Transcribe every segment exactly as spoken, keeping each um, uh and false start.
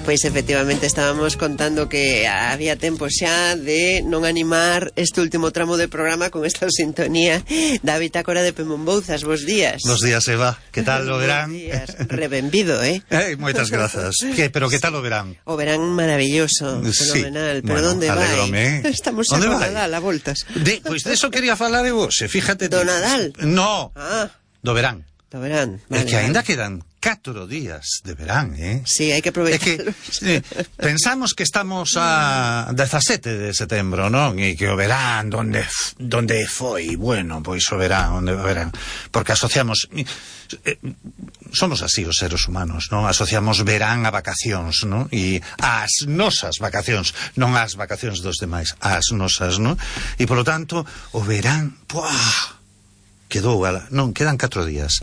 Pois efectivamente estábamos contando que había tempo xa de non animar este último tramo de programa con esta sintonía da bitácora de Pemombouzas. Bos días. Bos días, Eva. Que tal o verán? Bos días. Rebenvido, eh? eh moitas grazas. Que, pero que tal o verán? O verán maravilloso, fenomenal. Sí. Pero Bueno, onde vai? alegrome. Estamos xa con Nadal a voltas. De, pois de eso quería falar de vos, fíjate. Do Nadal? No, ah. do verán. Do verán, É vale, que aínda vale. quedan catro días de verán, eh? Sí, hai que aproveitar. É que eh, pensamos que estamos a dezasete de setembro, non? E que o verán, donde donde foi? Bueno, pois o verán, onde o verán. Porque asociamos... Eh, somos así os seres humanos, non? Asociamos verán a vacacións, non? E as nosas vacacións, non as vacacións dos demais, as nosas, non? E polo tanto, o verán, puah, quedou, non, quedan catro días.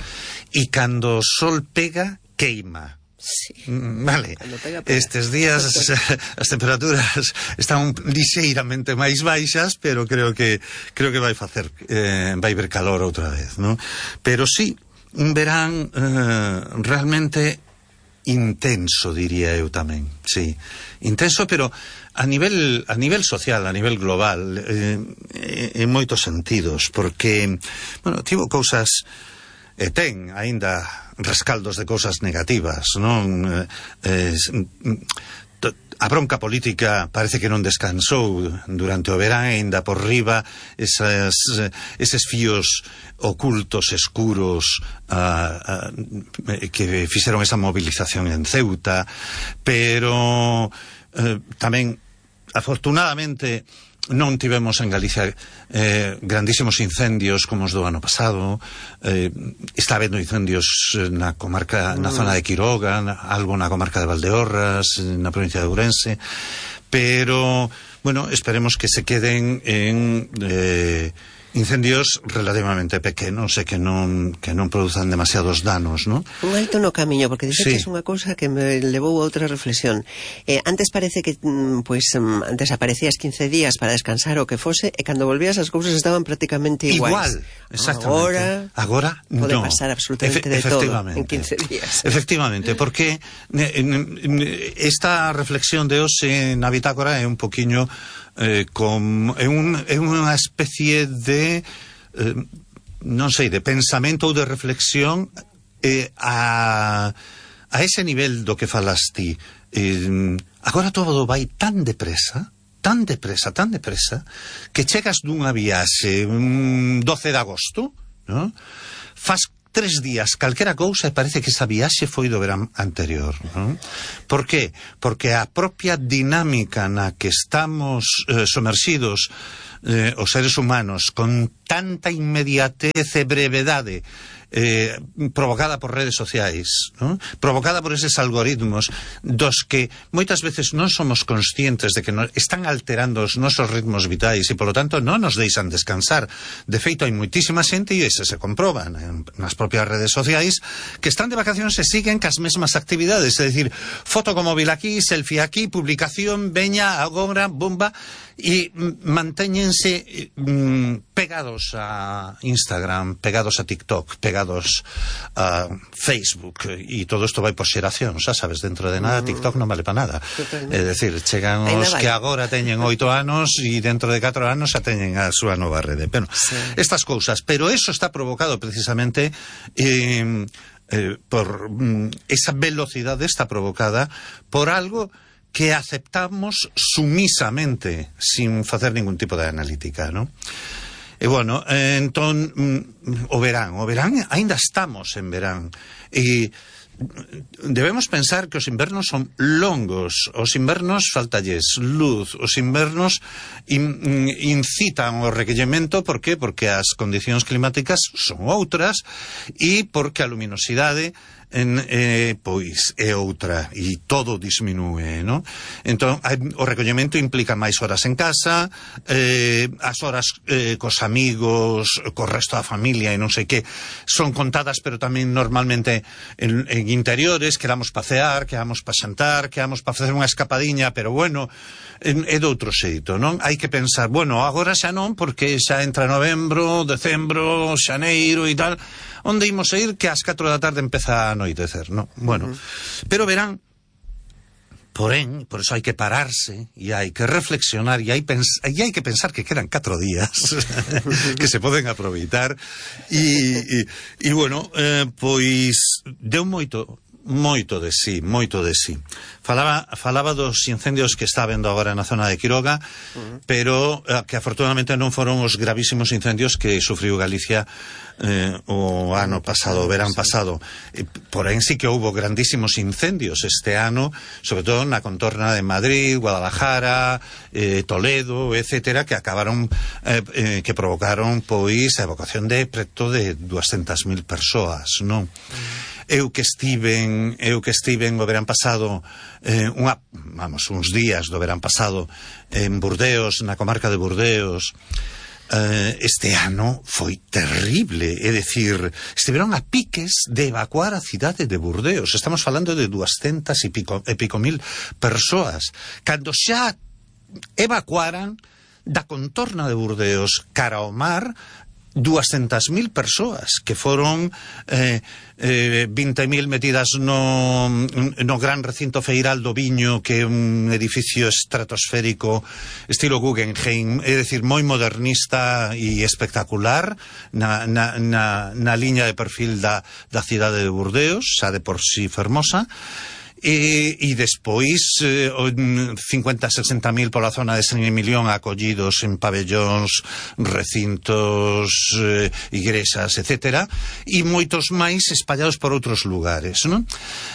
E cando o sol pega, queima. Sí. Vale, Pega, pega. estes días as temperaturas están lixeiramente máis baixas, pero creo que creo que vai facer eh, vai ver calor outra vez, non? Pero sí, un verán eh, realmente intenso, diría eu tamén, sí, intenso, pero a nivel a nivel social, a nivel global, eh, en moitos sentidos, porque, bueno, tivo cousas, e ten aínda rescaldos de cousas negativas, non? Eh, a bronca política parece que non descansou durante o verán, aínda por riba esas, eses fíos ocultos, escuros, uh, uh, que fixeron esa movilización en Ceuta, pero uh, tamén, afortunadamente, non tivemos en Galicia eh, grandísimos incendios como os do ano pasado. Eh, está habendo incendios na comarca, na zona de Quiroga, na, algo na comarca de Valdeorras, na provincia de Ourense, pero, bueno, esperemos que se queden en eh, incendios relativamente pequenos e que non que non produzan demasiados danos, non? Un alto no camiño, porque dice sí. que é unha cousa que me levou a outra reflexión. Eh, antes parece que, pois, um, antes aparecías quince días para descansar o que fose, e cando volvías as cousas estaban prácticamente iguais. Igual, exactamente. Agora, Agora pode no. pasar absolutamente Efe, de todo en quince días. Efectivamente, porque esta reflexión de hoxe na bitácora é un poquiño eh, con, é, un, é unha especie de eh, non sei, de pensamento ou de reflexión eh, a, a ese nivel do que falas ti. Eh, agora todo vai tan depresa, tan depresa, tan depresa, que chegas dunha viaxe un doce de agosto, non? Fas tres días calquera cousa e parece que esa viaxe foi do verán anterior, non? Por que? Porque a propia dinámica na que estamos eh, somerxidos eh, os seres humanos con tanta inmediatez e brevedade eh, provocada por redes sociais, ¿no? Provocada por eses algoritmos dos que moitas veces non somos conscientes de que no, están alterando os nosos ritmos vitais e, polo tanto, non nos deixan descansar. De feito, hai moitísima xente, e ese se comproba nas propias redes sociais, que están de vacacións e siguen cas mesmas actividades, é dicir, foto con móvil aquí, selfie aquí, publicación, veña, agora, bomba, e mantéñense mm, pegados a Instagram, pegados a TikTok, pegados a Facebook, e todo isto vai por xeración, xa sabes, dentro de nada TikTok non vale para nada. É dicir, chegan os que agora teñen oito anos e dentro de catro anos xa teñen a súa nova rede. Bueno, sí. Estas cousas, pero eso está provocado precisamente eh, eh, por mm, esa velocidade está provocada por algo que aceptamos sumisamente, sin facer ningún tipo de analítica, ¿no? E, bueno, eh, entón, mm, o verán, o verán, aínda estamos en verán, e debemos pensar que os invernos son longos, os invernos faltalles luz, os invernos in, incitan o requerimento, por que? Porque as condicións climáticas son outras e porque a luminosidade en, eh, pois é outra e todo disminúe, non? Entón, o recollemento implica máis horas en casa, eh, as horas eh, cos amigos, co resto da familia e non sei que, son contadas, pero tamén normalmente en, en interiores, quedamos pasear, quedamos pa xantar, quedamos pa facer unha escapadiña, pero bueno, en, é de outro xeito, non? Hai que pensar, bueno, agora xa non, porque xa entra novembro, decembro, xaneiro e tal, onde imos a ir que ás catro da tarde empeza a anoitecer, non? Bueno, uh-huh. Pero verán, porén, por eso hai que pararse e hai que reflexionar e hai, pens e hai que pensar que quedan catro días que se poden aproveitar e, e, e bueno, eh, pois deu moito moito de sí, moito de sí. Falaba, falaba dos incendios que está vendo agora na zona de Quiroga, uh-huh. pero eh, que afortunadamente non foron os gravísimos incendios que sufriu Galicia eh, o ano pasado, o verán pasado. Eh, porén sí que houbo grandísimos incendios este ano, sobre todo na contorna de Madrid, Guadalajara, eh, Toledo, etcétera, que acabaron, eh, eh, que provocaron pois a evacuación de preto de dúascentas mil persoas, non? Uh-huh. Eu que estiven, eu que estiven o verán pasado, eh, unha, vamos, uns días do verán pasado en Burdeos, na comarca de Burdeos, eh, este ano foi terrible, é dicir, estiveron a piques de evacuar a cidade de Burdeos. Estamos falando de dúascentas e pico, e pico mil persoas, cando xa evacuaran da contorna de Burdeos cara ao mar dúascentas mil persoas, que foron eh, eh, vinte mil metidas no, no gran recinto feiral do Viño, que é un edificio estratosférico estilo Guggenheim, é dicir, moi modernista e espectacular na, na, na, na liña de perfil da, da cidade de Burdeos, xa de por si fermosa. E, e despois eh, cincuenta a sesenta mil pola zona de San Emilión acollidos en pabellóns, recintos, eh, igrexas, etcétera, e moitos máis espallados por outros lugares, non?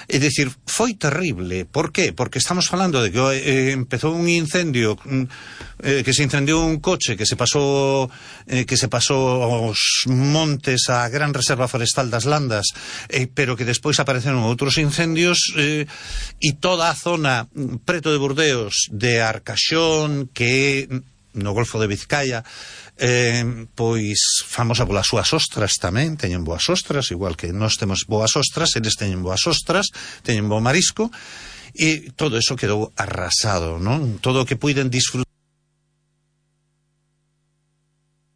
É dicir, foi terrible. Por qué? Porque estamos falando de que eh, empezou un incendio, eh, que se incendiou un coche que se pasou eh, que se pasou aos montes, a gran reserva forestal das Landas, eh, pero que despois apareceron outros incendios eh, e toda a zona preto de Burdeos, de Arcaxón, que é no Golfo de Vizcaya, eh, pois famosa polas súas ostras tamén, teñen boas ostras, igual que nós temos boas ostras, eles teñen boas ostras, teñen bo marisco, e todo eso quedou arrasado, non? Todo o que puiden disfrutar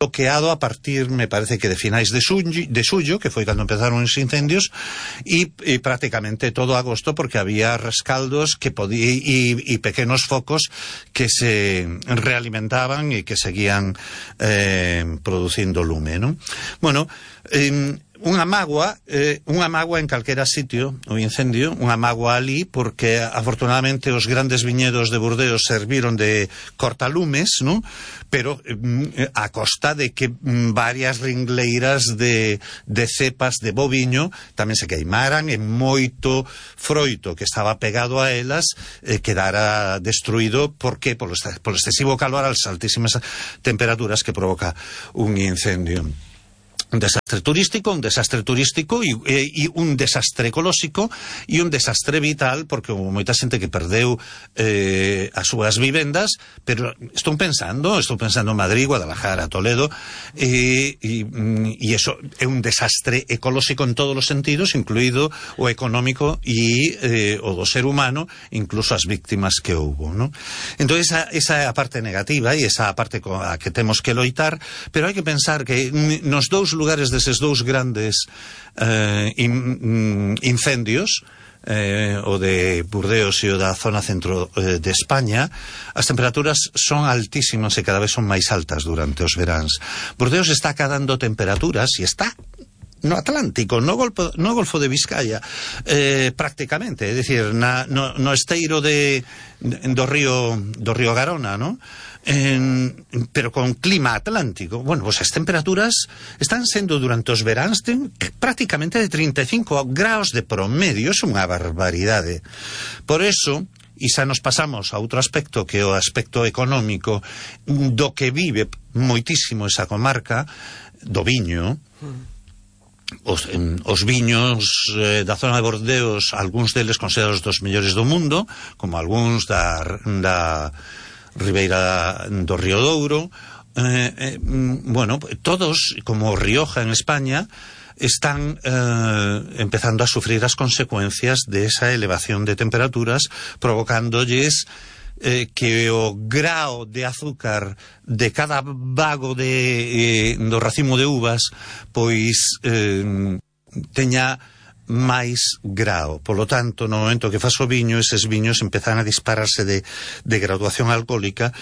bloqueado a partir, me parece que de finais de xullo, de xullo, que foi cando empezaron os incendios, e, e prácticamente todo agosto, porque había rescaldos que podía, e, e pequenos focos que se realimentaban e que seguían eh, producindo lume, non? Bueno, eh, unha mágoa, eh, unha mágoa en calquera sitio, o incendio, unha mágoa ali, porque afortunadamente os grandes viñedos de Burdeos serviron de cortalumes, non? Pero eh, a costa de que mm, varias ringleiras de, de cepas de boviño tamén se queimaran, e moito froito que estaba pegado a elas eh, quedara destruído. Por que? Polo, polo excesivo calor, as altísimas temperaturas que provoca un incendio. Un desastre turístico, un desastre turístico e, e, e un desastre ecolóxico e un desastre vital, porque houve moita xente que perdeu eh, as súas vivendas, pero estou pensando, estou pensando en Madrid, Guadalajara, Toledo, e, e, e eso é un desastre ecolóxico en todos os sentidos, incluído o económico e eh, o do ser humano, incluso as víctimas que houve, ¿no? Entón esa, esa é a parte negativa e esa é a parte a que temos que loitar, pero hai que pensar que nos dous lugares deses dous grandes eh, in, incendios, eh, o de Burdeos e o da zona centro eh, de España, as temperaturas son altísimas e cada vez son máis altas durante os veráns. Burdeos está cadando temperaturas e está no Atlántico, no Golfo, no Golfo de Vizcaya, eh, prácticamente, é dicir, na, no, no esteiro de, do río do río Garona, ¿no? En, pero con clima atlántico. Bueno, pues as temperaturas están sendo durante os veráns de, prácticamente de treinta e cinco graus de promedio. É unha barbaridade. Por eso, e xa nos pasamos a outro aspecto, que é o aspecto económico do que vive moitísimo esa comarca do viño. Os, en, os viños eh, da zona de Bordeos, algúns deles considerados dos mellores do mundo, como algúns da, da Ribeira do Río Douro, eh, eh, bueno, todos, como Rioja en España, están eh, empezando a sufrir as consecuencias de esa elevación de temperaturas, provocándolles eh, que o grao de azúcar de cada vago de, eh, do racimo de uvas pois eh, teña máis grao. Polo tanto, no momento que faz o viño, eses viños empezan a dispararse de, de graduación alcohólica,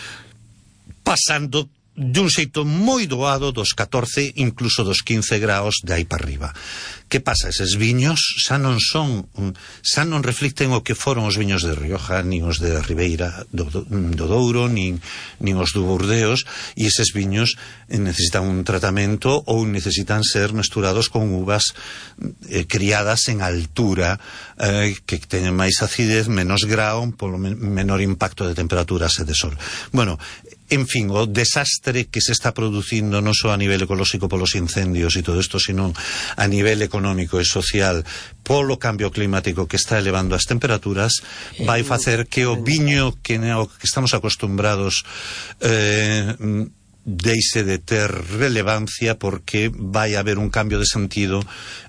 pasando dun xeito moi doado dos catorce, incluso dos quince graos de aí para arriba. Que pasa? Eses viños xa non son, xa non reflicten o que foron os viños de Rioja, nin os de Ribeira do, do, do Douro, nin, nin os do Burdeos, e eses viños necesitan un tratamento ou necesitan ser mesturados con uvas eh, criadas en altura, eh, que teñen máis acidez, menos grao, polo men menor impacto de temperaturas e de sol. Bueno, en fin, o desastre que se está producindo non só a nivel ecolóxico polos incendios e todo isto, sino a nivel económico e social polo cambio climático que está elevando as temperaturas, vai facer que o viño que, o que estamos acostumbrados eh, deixe de ter relevancia, porque vai haber un cambio de sentido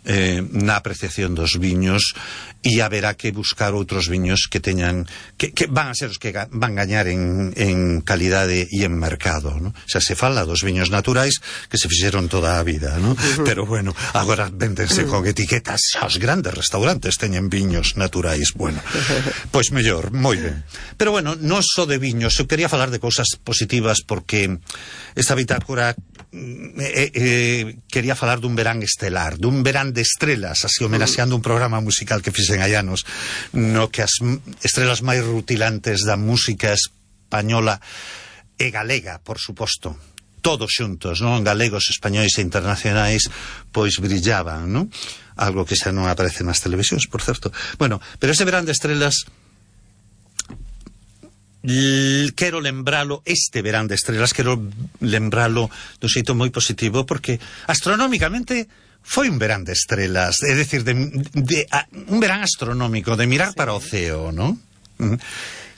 eh, na apreciación dos viños, e haberá que buscar outros viños que teñan que, que van a ser os que ga, van gañar en, en calidade e en mercado, ¿no? Xa se fala dos viños naturais que se fixeron toda a vida, ¿no? Uh-huh. Pero bueno, agora véndense con etiquetas, xa os grandes restaurantes teñen viños naturais. Bueno, pois mellor, moi ben. Pero bueno, non só de viños, eu quería falar de cousas positivas, porque esta bitácora eh, eh, quería falar dun verán estelar, dun verán de estrelas, así homenaxeando un programa musical que fixen hai anos, no que as estrelas máis rutilantes da música española e galega, por suposto, todos xuntos, non? Galegos, españois e internacionais, pois brillaban, non? Algo que xa non aparece nas televisións, por certo. Bueno, pero ese verán de estrelas, quero lembralo, este verán de estrelas, quero lembralo dun xeito moi positivo, porque astronómicamente foi un verán de estrelas, é dicir, de, de, a, un verán astronómico, de mirar sí. para o ceo, ¿no?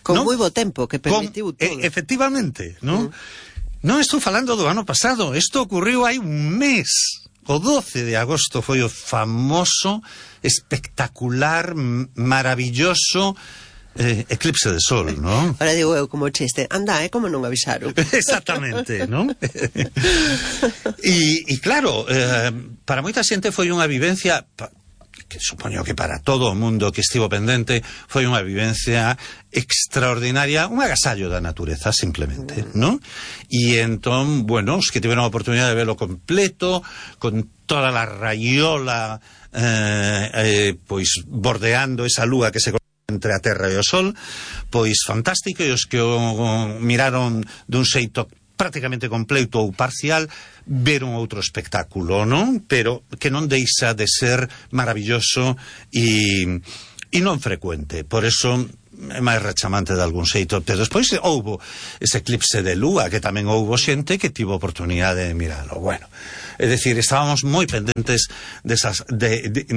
Con ¿no? moi bo tempo, que permitiu todo. E, efectivamente, ¿no? Mm. Non estou falando do ano pasado, isto ocurriu hai un mes. O doce de agosto foi o famoso, espectacular, maravilloso Eh, eclipse de sol, ¿no? Ahora digo eu como chiste, anda, é eh, como non avisaron. Exactamente, ¿no? E, e claro, eh, para moita xente foi unha vivencia, que supoño que para todo o mundo que estivo pendente, foi unha vivencia extraordinaria, un agasallo da natureza, simplemente, ¿no? E entón, bueno, os que tiveron a oportunidade de verlo completo, con toda la raiola, eh, eh, pois bordeando esa lúa que se entre a Terra e o Sol, pois fantástico, e os que o miraron dun xeito prácticamente completo ou parcial veron outro espectáculo, non? Pero que non deixa de ser maravilloso e, e non frecuente, por eso é máis rechamante de algún xeito. Pero despois houbo ese eclipse de lúa, que tamén houbo xente que tivo oportunidade de miralo. Bueno, é dicir, estábamos moi pendentes desas, de, de, de,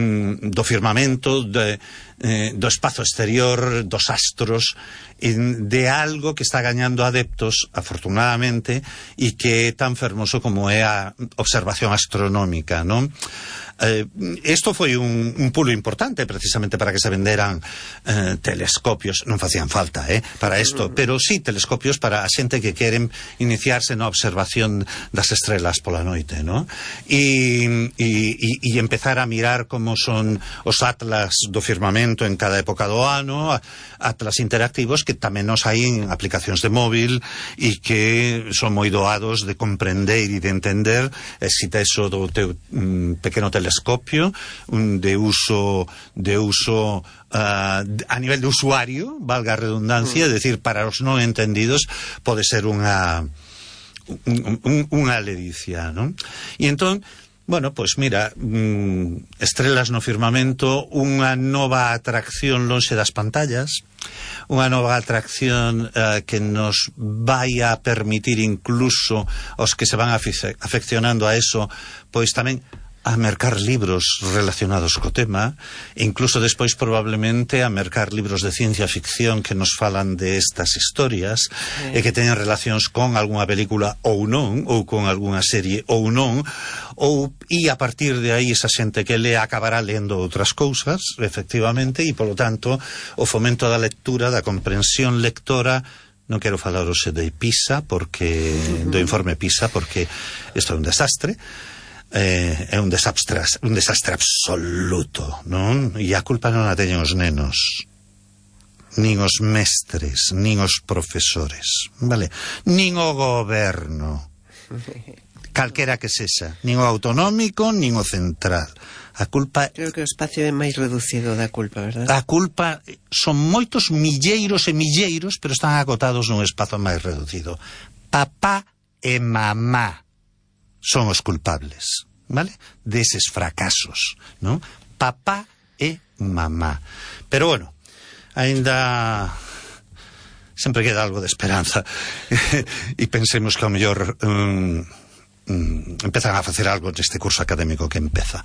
do firmamento, de, eh, do espazo exterior, dos astros, de algo que está gañando adeptos, afortunadamente, e que é tan fermoso como é a observación astronómica, non? Eh, esto foi un, un pulo importante precisamente para que se venderan eh, telescopios, non facían falta eh, para isto, pero sí telescopios para a xente que queren iniciarse na observación das estrelas pola noite, ¿no? E, e, e empezar a mirar como son os atlas do firmamento en cada época do ano, atlas interactivos que tamén nos hai en aplicacións de móvil e que son moi doados de comprender e de entender, e si tes o do teu mm, pequeno telescopio telescopio un de uso de uso uh, a nivel de usuario, valga a redundancia, é mm. dicir, para os non entendidos pode ser unha un, un, unha ledicia, non? E entón, bueno, pois pues mira, mm, estrelas no firmamento, unha nova atracción lonxe das pantallas, unha nova atracción uh, que nos vai a permitir incluso aos que se van afeccionando a eso, pois tamén a mercar libros relacionados co tema, e incluso despois probablemente a mercar libros de ciencia ficción que nos falan de estas historias sí. e que teñen relacións con algunha película ou non, ou con algunha serie ou non, ou e a partir de aí esa xente que le acabará lendo outras cousas, efectivamente, e polo tanto o fomento da lectura, da comprensión lectora. Non quero falar hoxe de PISA, porque uh-huh. do informe PISA, porque isto é un desastre. eh, é un desastre, un desastre absoluto, non? E a culpa non a teñen os nenos, nin os mestres, nin os profesores, vale? Nin o goberno, calquera que sexa, nin o autonómico, nin o central. A culpa... Creo que o espacio é máis reducido da culpa, verdad? A culpa son moitos milleiros e milleiros, pero están acotados nun espazo máis reducido. Papá e mamá son os culpables, vale? Deses fracasos, non? Papá e mamá. Pero bueno, aínda sempre queda algo de esperanza e pensemos que ao mellor um, um, empezan a facer algo neste curso académico que empeza,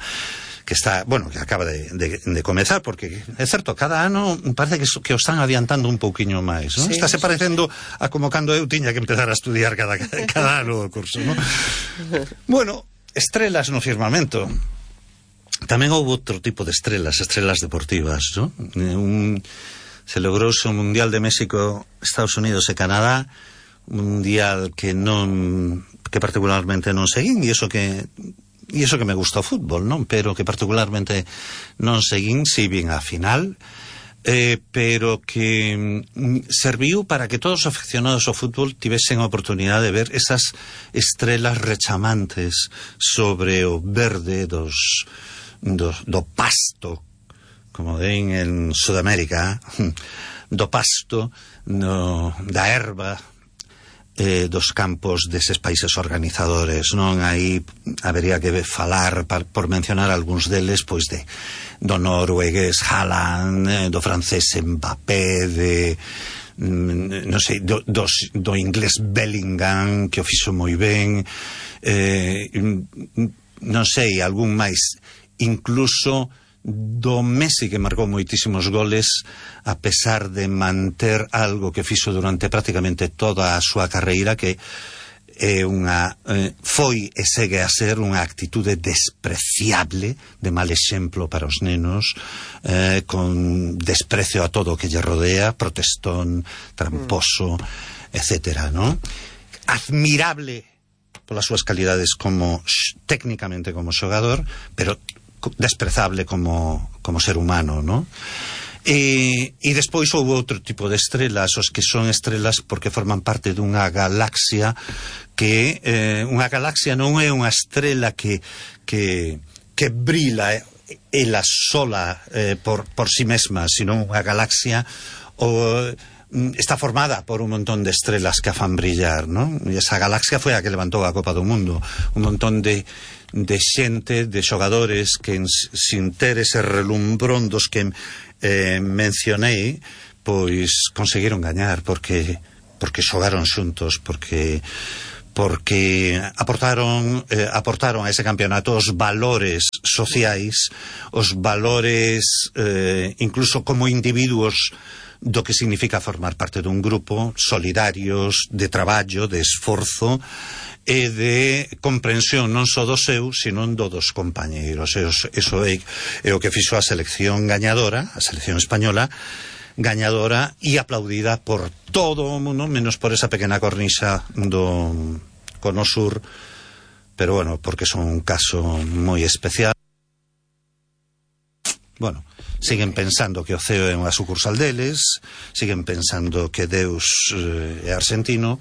que está, bueno, que acaba de, de, de comezar, porque é certo, cada ano parece que, que o están adiantando un pouquiño máis, non? Sí, está se parecendo a como cando eu tiña que empezar a estudiar cada, cada ano o curso, non? Bueno, estrelas no firmamento. Tamén houve outro tipo de estrelas, estrelas deportivas, non? Un, se logrouse o Mundial de México, Estados Unidos e Canadá, un mundial que non, que particularmente non seguín, e iso que e iso que me gusta o fútbol, non? Pero que particularmente non seguín, si vin a final, eh, pero que mm, serviu para que todos os aficionados ao fútbol tivesen a oportunidade de ver esas estrelas rechamantes sobre o verde dos, do, do pasto, como ven en Sudamérica, do pasto, no, da erva, eh, dos campos deses países organizadores, non? Aí habería que falar, par, por mencionar algúns deles, pois de do noruegués Haaland, eh, do francés Mbappé, de non sei, do, dos, do inglés Bellingham, que o fixo moi ben, eh, non sei, algún máis, incluso do Messi, que marcou moitísimos goles a pesar de manter algo que fixo durante prácticamente toda a súa carreira, que é unha eh, foi e segue a ser unha actitude despreciable, de mal exemplo para os nenos, eh, con desprecio a todo o que lle rodea, protestón, tramposo, mm. etcétera, non? Admirable polas súas calidades como técnicamente como xogador, pero desprezable como, como ser humano, ¿no? E, e despois houve outro tipo de estrelas, os que son estrelas porque forman parte dunha galaxia que eh, unha galaxia non é unha estrela que que, que brila ela sola eh, por, por si mesma, sino unha galaxia o, está formada por un montón de estrelas que a fan brillar, ¿no? E esa galaxia foi a que levantou a Copa do Mundo, un montón de de xente, de xogadores que sin ter ese relumbrón dos que eh, mencionei, pois conseguiron gañar porque porque xogaron xuntos, porque porque aportaron eh, aportaron a ese campeonato os valores sociais, os valores eh, incluso como individuos do que significa formar parte dun grupo, solidarios, de traballo, de esforzo e de comprensión non só do seu, sino do dos compañeiros. Eso é, é o que fixo a selección gañadora, a selección española gañadora e aplaudida por todo o mundo, menos por esa pequena cornixa do Cono Sur, pero bueno, porque son un caso moi especial. Bueno, siguen pensando que o C E O é unha sucursal deles, siguen pensando que Deus eh, é argentino,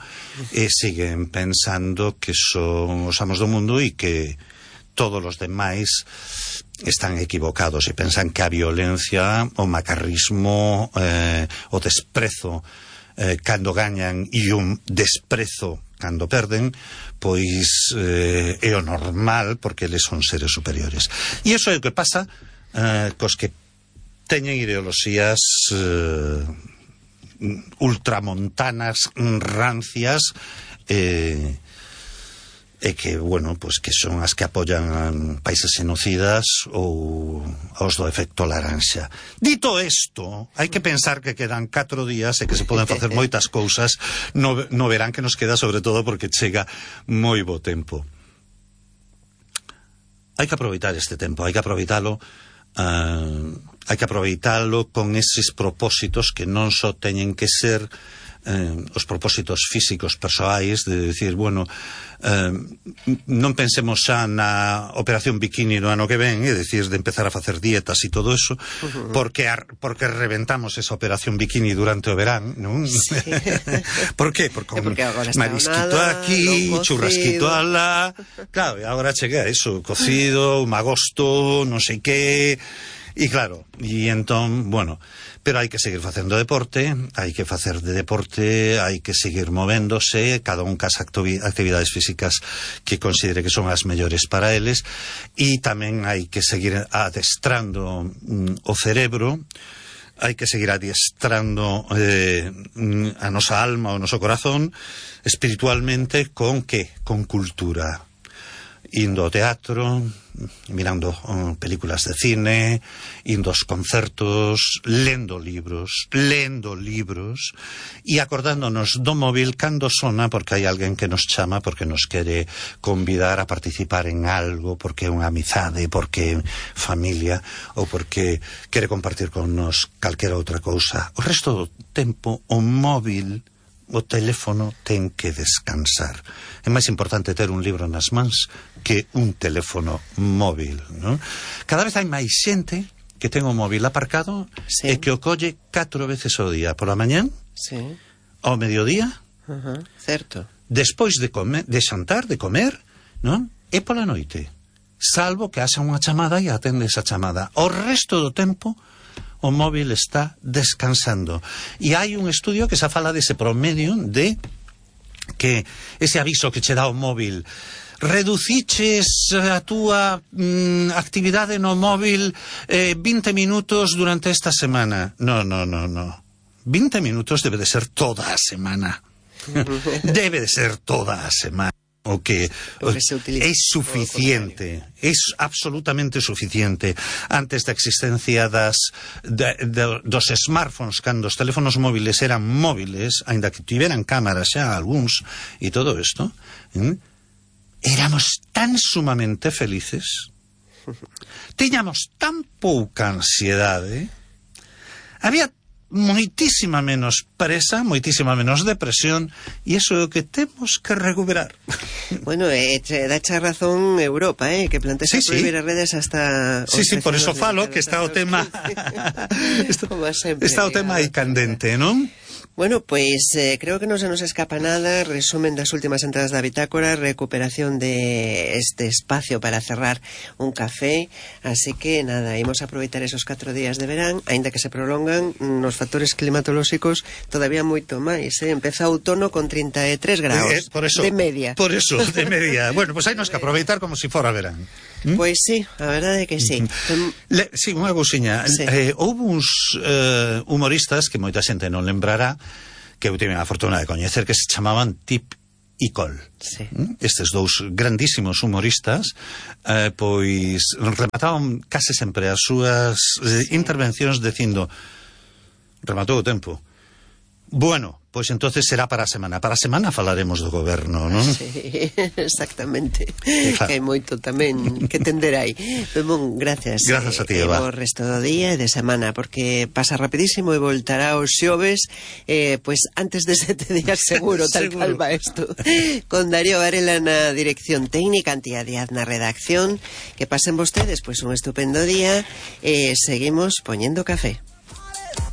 e siguen pensando que son os amos do mundo e que todos os demais están equivocados e pensan que a violencia, o macarrismo, eh, o desprezo eh, cando gañan e un desprezo cando perden, pois eh, é o normal porque eles son seres superiores. E iso é o que pasa Uh, cos que teñen ideoloxías uh, ultramontanas, rancias, eh, e que, bueno, pues que son as que apoyan países genocidas ou os do efecto laranxa. Dito isto, hai que pensar que quedan catro días e que se poden facer moitas cousas no, no verán que nos queda, sobre todo porque chega moi bo tempo. Hai que aproveitar este tempo, hai que aproveitalo. Uh, hai que aproveitalo con eses propósitos que non só teñen que ser eh, os propósitos físicos persoais de decir, bueno, eh, non pensemos xa na operación bikini do ano que ven, é dicir, de empezar a facer dietas e todo eso, uh-huh. porque ar, porque reventamos esa operación bikini durante o verán, non? Sí. Por qué? Porque, porque marisquito nada, aquí, churrasquito alá, claro, e agora cheguei a eso, cocido, un agosto, non sei que, e claro, e entón, bueno, pero hai que seguir facendo deporte, hai que facer de deporte, hai que seguir movéndose, cada un cas actividades físicas que considere que son as mellores para eles, e tamén hai que seguir adestrando mm, o cerebro, hai que seguir adiestrando eh, a nosa alma, o noso corazón, espiritualmente, con que? Con cultura. Indo ao teatro, mirando um, películas de cine, indo aos concertos, lendo libros, lendo libros, e acordándonos do móvil cando sona, porque hai alguén que nos chama, porque nos quere convidar a participar en algo, porque é unha amizade, porque é familia, ou porque quere compartir con nos calquera outra cousa. O resto do tempo, o móvil, o teléfono ten que descansar. É máis importante ter un libro nas mans que un teléfono móvil, non? Cada vez hai máis xente que ten o móvil aparcado, sí, e que o colle catro veces ao día, pola mañán, sí, ao mediodía, uh-huh, certo, despois de comer, de xantar, de comer, non? E pola noite, salvo que haxa unha chamada e atende esa chamada. O resto do tempo o móvil está descansando. E hai un estudio que xa fala dese promedio de que ese aviso que che dá o móvil, reduciches a túa mm, actividade no móvil eh, vinte minutos durante esta semana. No, no, no, no. vinte minutos debe de ser toda a semana. Debe de ser toda a semana. O que, o, que é suficiente, é absolutamente suficiente. Antes da existencia das de, de, dos smartphones, cando os teléfonos móviles eran móviles, aínda que tiveran cámaras xa algúns e todo isto, ¿eh? Éramos tan sumamente felices, tiñamos tan pouca ansiedade, había moitísima menos presa, moitísima menos depresión, e iso é o que temos que recuperar. Bueno, eh, dacha razón Europa, eh, que plantea sí, prohibir sí. as redes hasta... Sí, sí, por eso falo que está o tema... está, está o tema aí candente, non? Bueno, pues eh, creo que no se nos escapa nada. Resumen das últimas entradas da bitácora, recuperación de este espacio para cerrar un café, así que nada, imos a aproveitar esos catro días de verán, aínda que se prolongan nos factores climatolóxicos todavía moito máis, eh? Empeza o outono con trinta e tres graus eh, por eso, de media. Por eso, de media. Bueno, pues hai nos que aproveitar como se si fora verán. ¿Mm? Pois sí, a verdade é que sí. Le, sí, unha cousiña. Sí. Eh, houve uns eh, humoristas que moita xente non lembrará, que eu tive a fortuna de coñecer, que se chamaban Tip e Col. Sí. ¿Mm? Estes dous grandísimos humoristas eh, pois remataban case sempre as súas eh, sí. intervencións dicindo, rematou o tempo. Bueno, pois entonces será para a semana. Para a semana falaremos do goberno, non? Sí, exactamente. Claro. Que hai moito tamén que tender aí. Bon, gracias. Gracias a ti, Eva. O resto do día e de semana, porque pasa rapidísimo e voltará os xoves, eh, pois antes de sete días seguro, tal seguro. Cal va isto. Con Darío Varela na dirección técnica, Antía Díaz na redacción. Que pasen vostedes, pois un estupendo día e eh, seguimos poñendo café.